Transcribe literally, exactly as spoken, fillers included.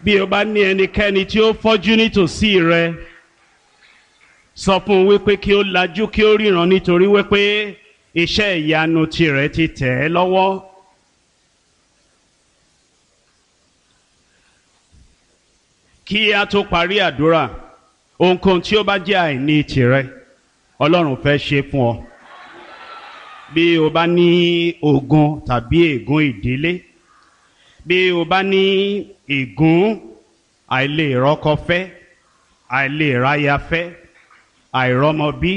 Bí o bá ní ẹnikẹ́ni tí ó fọ́jú nítòsí rẹ, sọ fún un wípé kí ó lajú kí ó ríran, nítorí wípé iṣẹ́ ìyanu tirẹ̀ ti tẹ̀ ẹ́ lọ́wọ́. Kí a tó parí àdúrà, ohunkóhun tí ó bá jẹ́ àìní tirẹ̀, Ọlọ́run fẹ́ ṣe fún ọ. Bí o bá ní ogun tàbí ègún ìdílé, bí o bá ní ègún àìlèrọ́kọ fẹ́, àìlèráyafẹ́, àìrọ́mọbí.